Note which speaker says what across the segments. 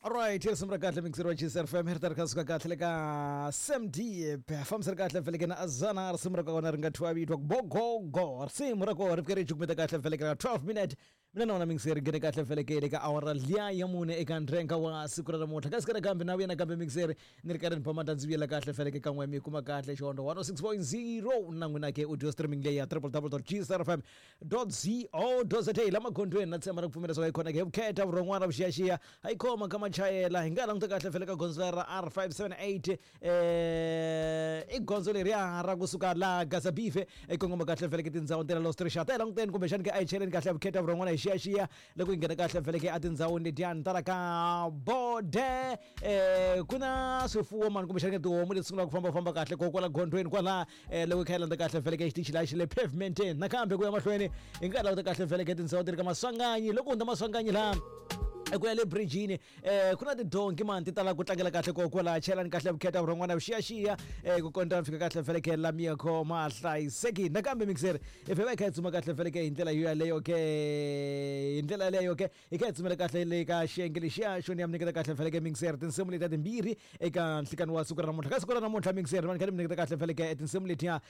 Speaker 1: Alright, risimu ra kahle mixer wa GCR FM ri ta ri kha suka kahle le ka Sam Deep. Fambisa ri kahle feleke na Azana risimu ra kona ri nga thyiwa vito ku Bogogo. Risimu ra kona ri fike ri cukumeta kahle feleke ka 12 minute. Mina na wona mixer nghene kahle feleke le ka awara liya ya mune eka ndrenga wa siku ra namuntlha. Kasi kana kambe na vuya nakambe mixer ni ri karhi ni phama ndzi vuyela kahle feleke kan'we mi kuma kahle xihondo 106.0 na n'wina ke audio streaming leyi ya www.gcrfm co za la magondzweni na tshemba ra ku pfumela swa yi khona ke vukheta vurhon'wana vuxiyaxiya a yi khoma ka machayela hi nga languta kahle fele ka gondzo ra R578 i gondzo leriya ra kusuka la Gazabife i kongoma kahle fele ke tindhawu ta la Los Trishata hi languteni kumbexani ke a hi cheleni kahle vukheta vurhon'wana hi xiyaxiya loko hi nghena kahle fele ke a tindhawini letiyani ta la ka bode ku na swifuwo mani kumbexani ke tihomu leti sungulaka ku fambafamba kahle ko kwala gondzweni kwala loko hi kha hi landza kahle vheleke xitichi laha xi le pavementeni nakambe ku ya mahlweni hi nga languta kahle vheleke tindhawu ti ri ka maswanganyi loko hundza maswanganyi laha ku ya le bridgini ku na tidonki mani ti tala ku tlangela kahle ko kwala chelani kahle vukheta vurhon'wana vuxiyaxiya ku kondza mi fika kahle vheleke la mi ya khoma hlayisekile nakambe mixer if hi va hi kha hi tsuma kahle vheleke hi ndlela yo yaleyo ke hi ndlela yaleyo ke hi kha hi tsumela kahle le ka xiyenge lexiya xo ni ya mi nyiketa kahle feleke mixer tinsimu letiya timbirhi eka nhlikani wa siku ra namuntlha ka siku ra namuntlha mixer va ni kha ni mi nyiketa kahle feleke tinsimu letiya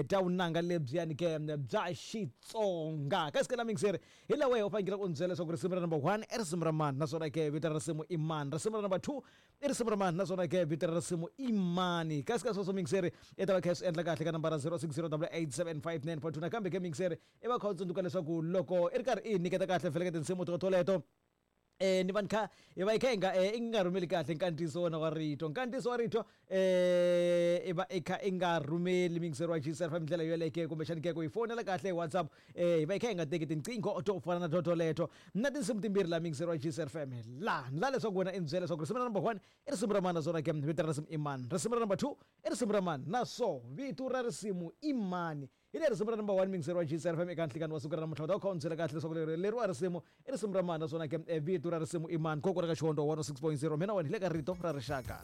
Speaker 1: ta vunanga lebyiyani ke bya Xitsonga ka siku la mixer hi laha wehe u fanekele u ni byela leswaku risimu ra number 1 i risimu ra mani naswona ke vito ra risimu i mani risimu ra number 2 i risimu ra mani naswona ke vito ra risimu i mani kasi ka sweswo mixer i ta va kha i swi endla kahle ka nambara 060 8875942 nakambe ke mixer I va kha u tsundzuka leswaku loko i ri karhi i hi nyiketa kahle feleke tinsimu to toleto ni va ni kha hi va hi kha hi nga i nga rhumeli kahle nkandziyiso wona wa rito nkandziyiso wa rito i va i kha i nga rhumeli miyingiseri wa GCR hi ndlela yoleyo kumbexani ke ku hi fonela kahle hi WhatsApp hi va hi kha hi nga teki tinqingho to fana na to toleto na tinsimu timbirhi la miyingiseri wa GCR FM la ni la leswaku wena i ni byela leswaku risimu ra number 1 i risimu ra mani naswona ke vito ra risimu i mani risimu ra number 2 i risimu ra mani naswo vito ra risimu i mani Hi leri risimu ra number 1 miyingiseri wa GCR FM eka nhlikani wa siku ra namuntlha u ta kha u ni byela kahle leswaku leri leriwa risimu i risimu ra mani naswona ke vito ra risimu i mani koko ra ka Xihondo 106.0 mina wena hi le ka rito ra rixaka.